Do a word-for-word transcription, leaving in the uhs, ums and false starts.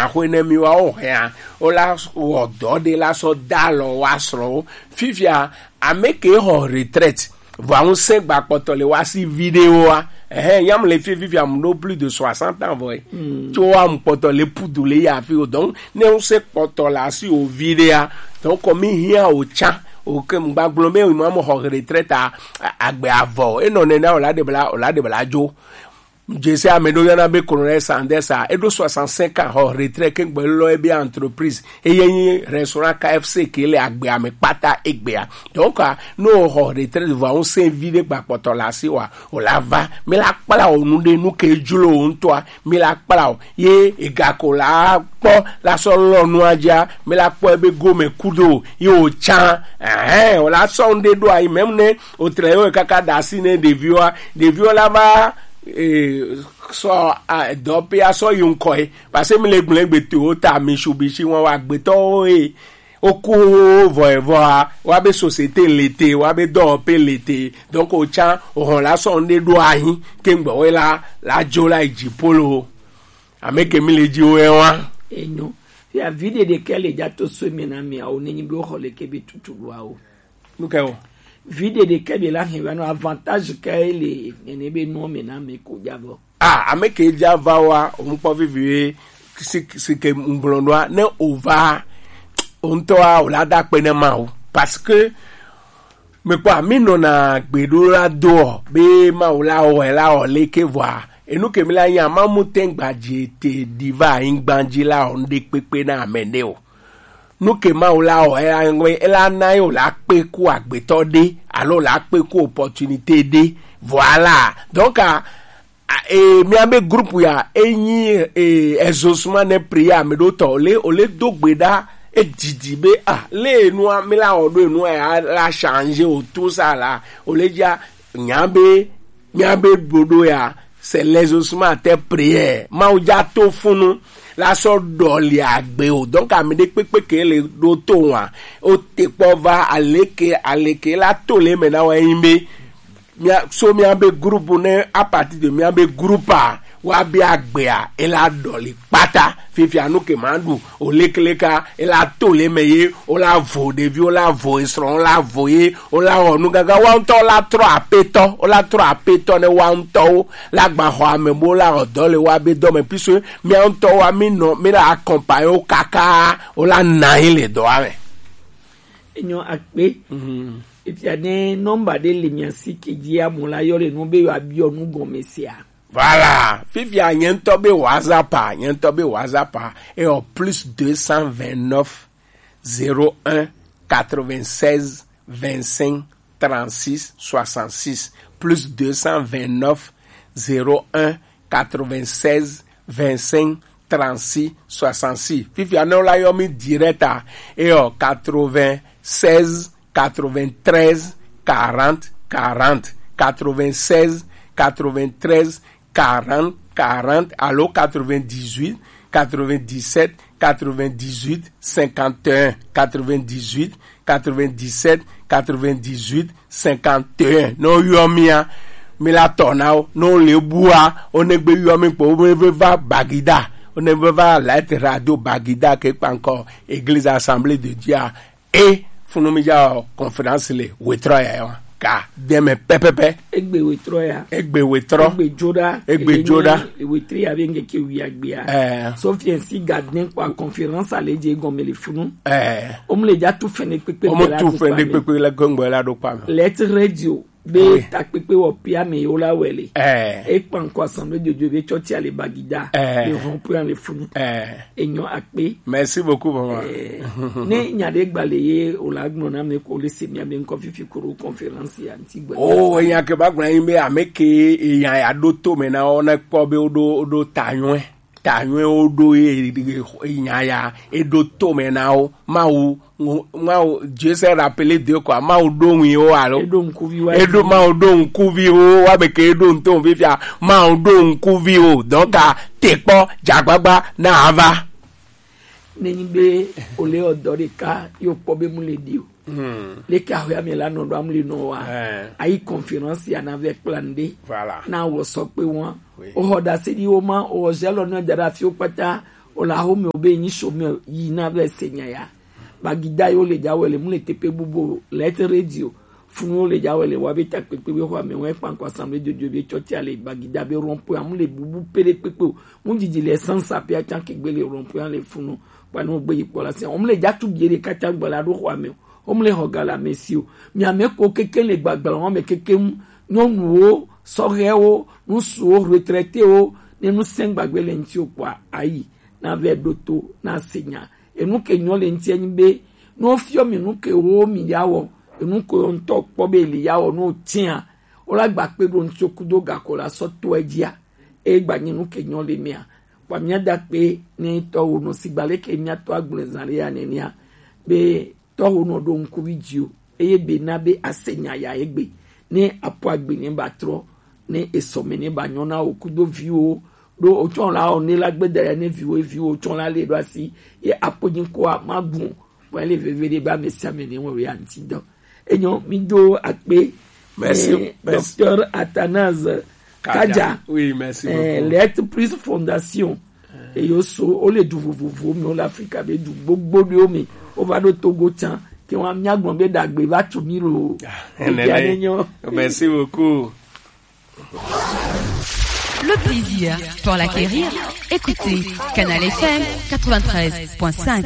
Axwe ne mi wa wo hɛa, wo la wɔ dɔ ɖe la sɔ da alɔ wa srɔ̃wo. Fifia, ame ke xɔ retraite, vɔa ŋusẽ gba kpɔtɔ le wa si viɖewoa. Ɛhɛn, nyam le fi fifia mu ɖo plus de soixante ans vɔ. Tso wa mu kpɔtɔ le pudu le ya fi o. Donc, ne ŋusẽ kpɔtɔ le asi o viɖea, donc, kɔ mi hiã o tsã, o ke mu gba gblɔ be mo amo xɔ retraite a, a-, agbe avɔ. E nɔ nena o la de bla, o la de bla dzo. Jese ame ɖo yɔna be Colonel Sanders a, eɖo soixante-cinq ans xɔ retraite ke gbɔ lɔ ebe entreprise. Eye nyi restaurant K F C ke le agbe ame kpata egbea. Donc, a, no xɔ retraite vɔ ŋusẽ vi ɖe gba kpɔtɔ le asi wa, o la va, mi la kpla o nu ɖe nu ke dzro o ŋutɔa, mi la kpla o. Ye ega ko la kpɔ la sɔ lɔ nua dzia, mi la kpɔ ebe gome kudo, ye o tsã. Ɛhɛn, o la sɔ nu ɖe ɖo ayi, même ne o tre yo kaka da asi ne ɖeviwoa, ɖeviwo la va, eh, sɔ, a, dɔ pe a sɔ yi ŋkɔ ye. Parce que mi le gblẽ gbe to o ta mi su bi si wọn wa gbetɔwo ye. O ku vɔ evɔ a, wa be société le te, wa be dɔwɔƒe le te. Donc o tsã, o hɔn la sɔ nu ɖe ɖo ayi, ke ŋgbɔ we la, la dzo la yi dzi polo. Ame ke mi le dzi wo ye wa. Enyo. Ya vi ɖeɖe ke le dza to so me na mi a, o ne nyi be o xɔ le ke be tutu wa o. Nu ke o. Vi ɖeɖe ke be la hɛn va nɔ avantage ke le nene be nɔ me na me ko dza vɔ. Ah, ame ke dza va wa, o ŋkpɔ vivi we, si, si ke ŋgblɔ ɖoa, ne o va, o ŋutɔa, o la da kpe ne ma o. Parce que, me kpɔ, mi nɔna gbe ɖo la do o, be ma o la o, la o le ke vɔa. Enu ke mi la nya, ma mu te gba dzi te di va anyigba dzi la o, ŋɖe kpekpe na ame ne o. Nu ke Mawu la wɔ, ela ŋgbe, ela na ye wòle akpe ku agbetɔ ɖe, alo wòle akpe ku opportunité ɖe. Voilà. Donc, a, a, e, míabe groupe ya, enyi, e, exaucement ne prière ame ɖo tɔ, wòle, wòle do gbe ɖa, edidi be, ah, le enua, mi la wɔ ɖo enua ya, la changer o, tout ça là, wòle dza, nya be, míabe ɖoɖo ya, c'est l'exaucement à tes prières. Mawu dza to funu la sɔ ɖɔli agbe o. Donc, ame ɖe kpekpe ke le ɖo to wa. O te kpɔ va aleke, aleke la to le me na wa yin be. Mía, so míabe groupe ne à partir de míabe groupe a, wa be agbea, e la ɖɔli kpata. Fifia nu ke ma ɖu, o lekeleka, e la to le me ye, o la vo ɖevi, o la vo esrɔ̃, o la vo ye, o la wɔ nu gaga, wa ŋutɔ o la trɔ apetɔ, o la trɔ apetɔ ne wa ŋutɔwo, la gba xɔ ame bo la wɔ dɔ le wa be dɔ me, puisque mía ŋutɔ wa mi nɔ, mi la accompagner wo kaka, o la na ye le dɔa me. Enyo akpe. Mhm. Efia ne nɔmba ɖe le mia si ke dzi amu la yɔ le nu be yewoabiɔ nu gɔme sia. Voilà. Fifia nye ŋutɔ be WhatsApp a, nye ŋutɔ be WhatsApp a, eyɔ plus deux cent vingt-neuf, zéro un, quatre-vingt-seize, vingt-cinq, trente-six, soixante-six, plus deux cent vingt-neuf, zéro un, quatre-vingt-seize, vingt-cinq, trente-six, soixante-six. Fifia ne wo la yɔ mi direct a, eyɔ quatre-vingt-seize, quatre-vingt-treize, quarante, quarante, quatre-vingt-seize, quatre-vingt-treize, quarante, quarante, alo quatre-vingt-dix-huit, quatre-vingt-dix-sept, quatre-vingt-dix-huit, cinquante et un, quatre-vingt-dix-huit, quatre-vingt-dix-sept, quatre-vingt-dix-huit, cinquante et un. Ne woyɔ mía, mi la tɔ na wo. Ne wole bua, wo ne gbe yɔ mi kpo, wo be va Bagida. Wo ne be va Light Radio Bagida ke kpa ŋkɔ Église Assemblée de Dieu a. E funu mi dza conférence le wetrɔ ya ya wa. Ka deme pɛpɛpɛ. Egbe wetrɔ ya. Egbe wetrɔ. Egbe dzoɖa. Egbe dzoɖa. Wetri ya be ŋkeke wi agbea. Eh. Sophie si garden kpa conférence ale dze gɔme le funu. Eh. Omu le dza tu fɛnɛ kpekpe. Omu tu fɛnɛ kpekpe le gɔngbe la ɖo kpa me. Let radio. Be takpekpe wɔ pia me yo la wɛle. Eh. E kpa ŋkɔ assemblée de Dieu be tsɔtsi ale Bagida. Eh. Le hɔn pia le funu. Eh. Enyo akpe. Merci beaucoup, maman. Eh. Ne nya ɖe gba le ye o la gblɔ na me ko le se mia be ŋkɔ fifi koro conférence ya ŋti gbe. Oh, enya ke ba gblɔ yin be ame ke enya ya ɖo to me na wo ne kpɔ be wo ɖo, wo ɖo ta nyuɛ. Ta nyuie wo ɖo ye, ye nya ya, e ɖo to me na wo. Mawu, Mawu, Dieu s'est rappelé d'eux quoi. Mawu ɖo ŋui wo alo. E ɖo ŋkuvi wa. E ɖo Mawu ɖo ŋkuvi wo, wa be ke e ɖo ŋutɔ fifia. Mawu ɖo ŋkuvi wo. Donc, a, te kpɔ, dzagbagba, na ava. Nenyi be o le ɔ dɔ ɖeka, yo kpɔ be mu le di o. Hmm. Leke axɔe ame la nɔ ɖo amli nɔ wa. Eh. Ayi conférence ya na vɛ kpla ŋɖe. Voilà. Na wɔ sɔ kpe wɔn. Oui. O xɔ ɖase ɖi wo ma, o xɔ zɛlɔ nɔ da ɖe afi wo kpata, O la home o be nyi so me yi na be se nya ya. Bagida yo le ja wele mu le tepe bubo let radio. Funu yo le ja wele wa be ta pepe be ho ame won pa ko assemblée de Dieu be church ale bagida be rompo amu le bubu pere pepe o. Mu jiji le sansa pe atan ke gbe le rompo an le funu. Pa no gbe yi po la se. O mu le ja tu bi le kata gba la do ho ame. O mu le ho ga la mesi o. Mi ame ko keke le gbagba won me keke mu. Nyɔnuwo, sɔhɛwo, ŋutsuwo, retraité wo, ne nu sɛn gbagbe le ŋuti o kpɔa, ayi, na vɛ ɖo to, na se nya. Enu ke nyɔ le ŋuti enyi be, ne wofiɔ mi nu ke wo mi ya wɔ, enu ke wo ŋutɔ kpɔ be li ya wɔ, ne wo tia, wo la gba kpe ɖo ŋuti o kudo gako la sɔ to edzia, e gba nyi nu ke nyɔ le mia. Kpɔ mia da kpe ne tɔ wo nɔ sigba le ke mia tɔ agble zan le ya nenia, be tɔwo nɔ ɖo ŋkuvi dzi o, eye be na be ase nya ya egbe, ne apo agbe ne ba trɔ, ne esɔme ne ba nyɔ na wo kudo viwo, ɖo otsɔ la o ne la gbeda ya ne viwo, viwo tsɔ la le ɖo asi, ye apo nyi ko a ma gun, vɔ ele veve ɖe ba ame sia ame ne wɔ ya ŋuti dɔ. Enyo, mi do akpe. Merci, eh, merci. Docteur Athanase Kadja. Kadja. Oui, merci eh, beaucoup. Let Plus Fondation. Eyo so, o le du vovovo mi, o le Afrika be du gbogbo ɖewo mi. O va ɖo Togo tsan, ke wa mia gbɔn be dagbe va tu mi lo. Ah, ebi nene. Ane nyo. Merci beaucoup. Le plaisir pour l'acquérir. Écoutez Canal F M quatre-vingt-treize point cinq.